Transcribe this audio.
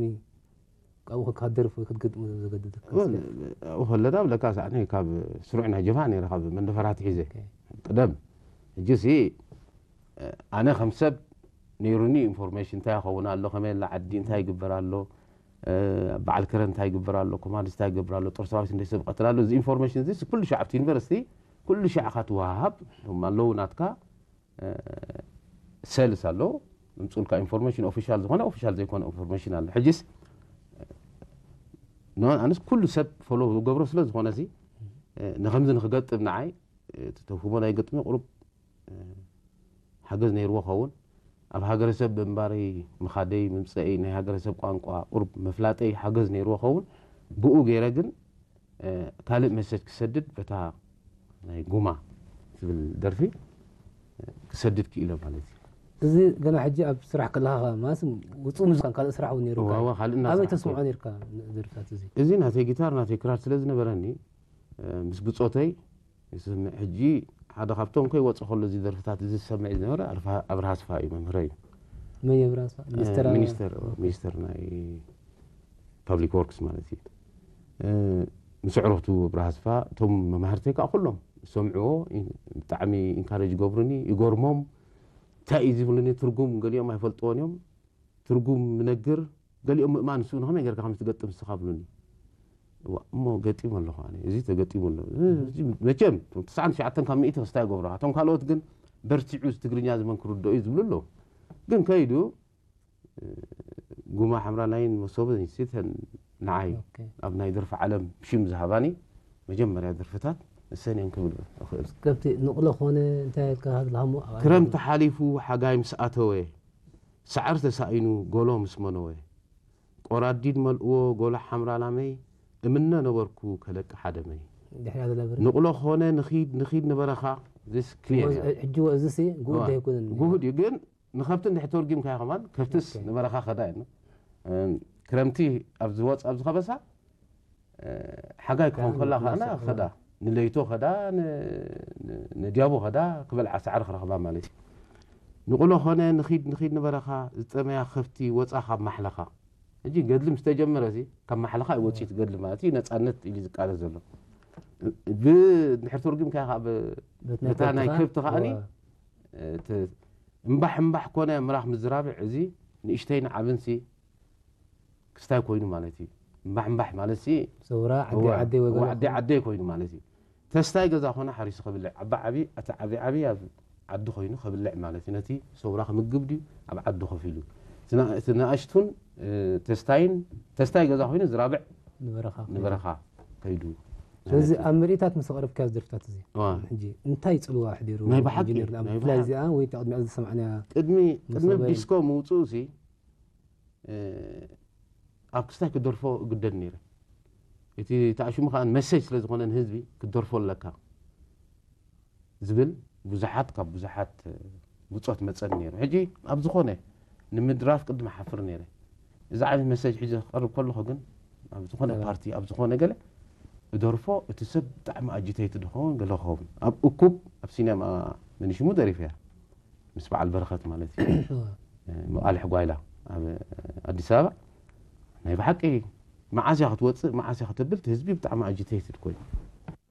ሚ ኣብኡ ከካደርፍ ወይ ክትገጥሞ ዘገድደካ ኣብኡ ከለና ብለካ ሳዕኒ ካብ ስሩዕ ናይ ጀብሃ ነይረ ካብ መንደፈራት ሒዘ ቅደም። ሕጂ ሲ ኣነ ከም ሰብ ነይሩኒ ኢንፎርሜሽን እንታይ ይኸውን ኣሎ፣ ከመይ ኣላ ዓዲ እንታይ ይግበር ኣሎ፣ በዓል ከረን እንታይ ይግበር ኣሎ፣ ኮማንድስ እንታይ ይግበር ኣሎ፣ ጦር ሰራዊት እንደ ሰብ ቀትል ኣሎ። እዚ ኢንፎርሜሽን እዚ ኩሉ ሻዕ ኣብቲ ዩኒቨርሲቲ ኩሉ ሻዕ ካትወሃብ ኣለዉ ናትካ ሰልስ ኣሎ ምምፅኡልካ ኢንፎርሜሽን ኦፊሻል ዝኾነ ኦፊሻል ዘይኮነ ኢንፎርሜሽን ኣሎ። ሕጂስ ኣነስ ኩሉ ሰብ ፎሎ ዝገብሮ ስለ ዝኾነ ሲ ንከምዚ ንክገጥም ንዓይ እቲ ተውህቦ ናይ ገጥሚ ቁሩብ ሓገዝ ነይርዎ ኸውን ኣብ ሃገረሰብ ምንባረይ ምኻደይ ምምፀኢ ናይ ሃገረሰብ ቋንቋ ቁሩብ ምፍላጠይ ሓገዝ ነይርዎ ኸውን ብኡ ገይረ ግን ካልእ መሰጅ ክሰድድ በታ ናይ ጉማ ትብል ደርፊ ክሰድድ ክኢለ ማለት እዩ። እዚ ገና ሕጂ ኣብ ስራሕ ከለኻ ማለት ውፅእ ምስ ካልእ ስራሕ እውን ነይሩ እዋ ካልእ እናሰራሕ ኣበይ ተስምዖ ነርካ ደርፍታት እዚ እዚ ናተይ ጊታር ናተይ ክራር ስለ ዝነበረኒ ምስ ብፆተይ ዝስምዕ ሕጂ ሓደ ካብቶም ከይወፀ ከሎ እዚ ደርፍታት እዚ ዝሰምዕ ዝነበረ ኣብርሃ ስፋ እዩ መምህረ እዩ መን የብራሳ ሚኒስተር ሚኒስተር ሚኒስተር ናይ ፓብሊክ ወርክስ ማለት እዩ ምስ ኣዕሩኽቱ ኣብርሃ ስፋ እቶም መማህርተይ ከዓ ኩሎም ዝሰምዕዎ ብጣዕሚ ኢንካሬጅ ይገብሩኒ ይገርሞም እንታይ እዩ ዝብሉኒ ትርጉም ገሊኦም ኣይፈልጥዎን እዮም ትርጉም ምነግር ገሊኦም ምእማን ንስኡ ንኸመይ ጌርካ ከምዚ ትገጥም ንስኻ ብሉኒ እሞ ገጢሙ ኣለኹ ኣነ እዚ ተገጢሙ ኣሎ መቸም ትስዓን ትሽዓተን ካብ ሚእቲ ክስታይ ይገብሮ እቶም ካልኦት ግን በርቲዑ ትግርኛ ዝመን ክርድኦ እዩ ዝብሉ ኣለዉ ግን ከይዱ ጉማ ሓምራላይን መሶብን ሲተን ንዓይ ኣብ ናይ ደርፊ ዓለም ሽም ዝሃባኒ መጀመርያ ደርፍታት እሰን እየን ክብል እኽእል። ከብቲ ንቕሎ ኮነ እንታይ ኢልካ ዝልሃሞ ኣብ ክረምቲ ሓሊፉ ሓጋይ ምስ ኣተወ ሳዕሪ ተሳኢኑ ጎሎ ምስ መነወ ቆራዲድ መልእዎ ጎሎ ሓምራ ላመይ እምነ ነበርኩ ከለቂ ሓደመይ ድሕሪያ ዝነብር ንቕሎ ኮነ ንኺድ ንኺድ ንበረኻ this clear እያ። ሕጂ እዚ ሲ ጉድ ኣይኮነን ጉሁድ እዩ ግን ንኸብቲ እንድሕር ተርጊምካዮ ከማን ከብትስ ንበረኻ ከዳ እዩ ክረምቲ ኣብ ዝወፅ ኣብ ዝኸበሳ ሓጋይ ክኾን ከላ ከዓና ከዳ ንለይቶ ከዳ ንድያቦ ከዳ ክበልዓ ሳዕሪ ክረኽባ ማለት እዩ ንቑሎ ኾነ ንኺድ ንኺድ ንበረኻ ዝጠመያ ከብቲ ወፃ ካብ ማሕለኻ ሕጂ ገድሊ ምስ ተጀመረ እዚ ካብ ማሕለኻ እዩ ወፂኡ ገድሊ ማለት እዩ ነፃነት ኢሉ ዝቃለስ ዘሎ ብድሕር ተርጉምካ ካብ ነታ ናይ ከብቲ ከዓኒ እምባሕ እምባሕ ኮነ ምራኽ ምዝራብዕ እዚ ንእሽተይን ዓብንሲ ክስታይ ኮይኑ ማለት እዩ እምባሕ እምባሕ ማለት ሲ ሰውራ ዓዲ ዓደይ ወገን ዓዲ ዓደይ ኮይኑ ማለት እዩ ተስታይ ገዛ ኮነ ሓሪሱ ከብልዕ ዓቢ ዓቢ እቲ ዓቢ ዓቢ ኣብ ዓዲ ኮይኑ ከብልዕ ማለት እዩ ነቲ ሰውራ ክምግብ ድዩ ኣብ ዓዲ ኮፍ ኢሉ እቲ ንኣሽቱን ተስታይን ተስታይ ገዛ ኮይኑ ዝራብዕ ንበረኻ ከይዱ ስለዚ ኣብ ምርኢታት ምስ ኣቕረብካዮ ደርፍታት እዚ ሕጂ እንታይ ፅልዋ ኣሕዲሩ ናይ ብሓቂ ናይ ብሓቂ እዚኣ ወይ ቅድሚኣ ዝሰማዕናያ ቅድሚ ቅድሚ ዲስኮ ምውፅኡ ሲ ኣብ ክስታይ ክደርፎ እግደድ ነይረ እቲ ተኣሽሙ ከዓ መሰጅ ስለ ዝኾነ ንህዝቢ ክትደርፎ ኣለካ ዝብል ብዙሓት ካብ ብዙሓት ብፆት መፀኒ ነይሩ ሕጂ ኣብ ዝኾነ ንምድራፍ ቅድሚ ሓፍር ነይረ እዚ ዓይነት መሰጅ ሕጂ ክቐርብ ከለኹ ግን ኣብ ዝኾነ ፓርቲ ኣብ ዝኾነ ገለ እደርፎ እቲ ሰብ ብጣዕሚ ኣጂተይቲ ድኸውን ገለ ክኸውን ኣብ እኩብ ኣብ ሲነማ መኒሽሙ ደሪፈያ ምስ በዓል በረኸት ማለት እዩ መቓልሕ ጓይላ ኣብ ኣዲስ ኣበባ ናይ ብሓቂ መዓስያ ክትወፅእ መዓስያ ከተብል ህዝቢ ብጣዕሚ ኣጂተይትድ ኮይኑ